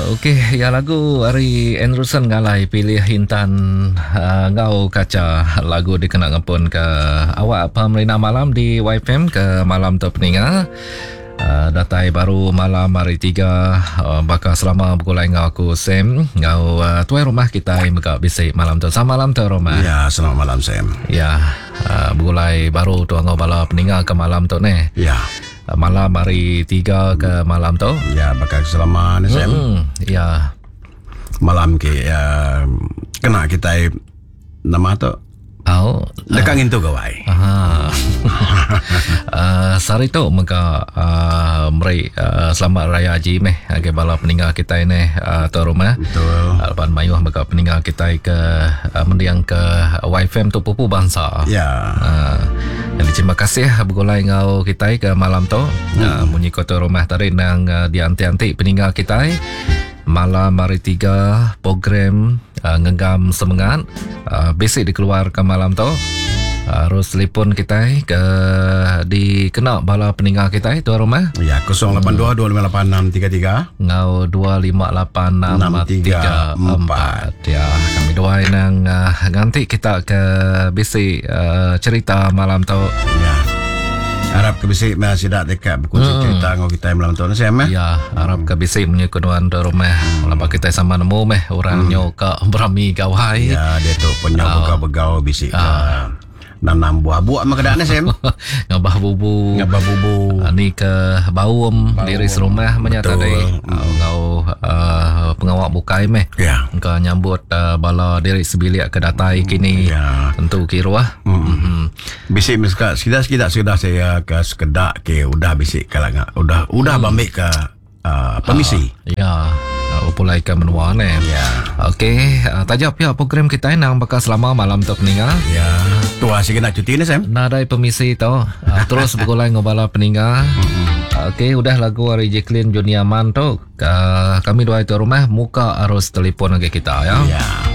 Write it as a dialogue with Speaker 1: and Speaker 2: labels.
Speaker 1: Okey, ya lagu ari Anderson Ngalai pilih Intan uh, ngau kaca lagu dikena ngepun ke awak pemerintah malam di YFM ke malam tu peninga. Uh, datai baru malam hari tiga uh, baka selama begulai enggau aku Sam enggau uh, tuai rumah kita mega bisi malam tu. Selamat malam tuai rumah.
Speaker 2: Ya, selamat malam Sam.
Speaker 1: Ya, uh, begulai baru tu enggau bala peninga ke malam tu neh.
Speaker 2: Ya.
Speaker 1: Malam hari tiga ke malam tu.
Speaker 2: Ya, bakal selama ni Sam.
Speaker 1: Ya.
Speaker 2: Malam ke uh, kena kita nama tu
Speaker 1: Au.
Speaker 2: Deka ngintu gawai.
Speaker 1: Aha. uh, sehari tu mega uh, meri uh, selamat raya haji meh agi bala peninggal kita ni uh, tu rumah.
Speaker 2: Betul.
Speaker 1: Uh, lepas mayuh mega peninggal kita ke uh, mendiang ke YFM tu pupu bangsa.
Speaker 2: Ya.
Speaker 1: Uh, jadi terima kasih bergulai ngau kita ke malam tu. Hmm. Uh, munyi kota rumah tadi nang uh, dianti-anti peninggal kita. Malam hari tiga program uh, ngenggam semangat uh, basic dikeluarkan malam tu. Harus telefon kita ke dikena bala peninggal kita tuan rumah.
Speaker 2: Ya, 082 258 633
Speaker 1: ngau 2586334. Ya, kami dua nang uh, nganti kita ke bisi uh, cerita malam tu.
Speaker 2: Ya. Harap ke bisi masih dak dekat berkongsi cerita ngau kita malam tu Sam eh.
Speaker 1: Ya, harap ke bisi menyekunuan di rumah. Hmm. Lepas kita sama nemu meh orang hmm. nyo ke berami gawai.
Speaker 2: Ya, dia tu penyau oh. begau-begau bisi ke nanam buah buah mah kedak ni Sam.
Speaker 1: Ngabah bubu.
Speaker 2: Ngabah bubu.
Speaker 1: Ni ke baum, baum. Diri serumah menyata tadi. Hmm. Ngau uh, pengawak bukai meh.
Speaker 2: Ya.
Speaker 1: Engkau nyambut uh, bala diri sebilik ke datai kini.
Speaker 2: Ya.
Speaker 1: Tentu kiruah.
Speaker 2: Hmm. Hmm. Bisik meska sekitar sekitar saya ke sekedak ke udah bisik kalanga udah udah hmm. bambik ke uh, permisi.
Speaker 1: Ya. Pulai ke menua ni.
Speaker 2: Ya.
Speaker 1: Okey, uh, tajak pihak program kita nang bakal selama malam tu peninggal.
Speaker 2: Ya. Tua sikit nak cuti ni Sam.
Speaker 1: Nadai permisi tu. Uh, terus bergulai ngobala peninggal. Okey, udah lagu hari Jacqueline Junior Man tu. Uh, kami dua itu rumah muka arus telefon lagi kita ya.
Speaker 2: Ya.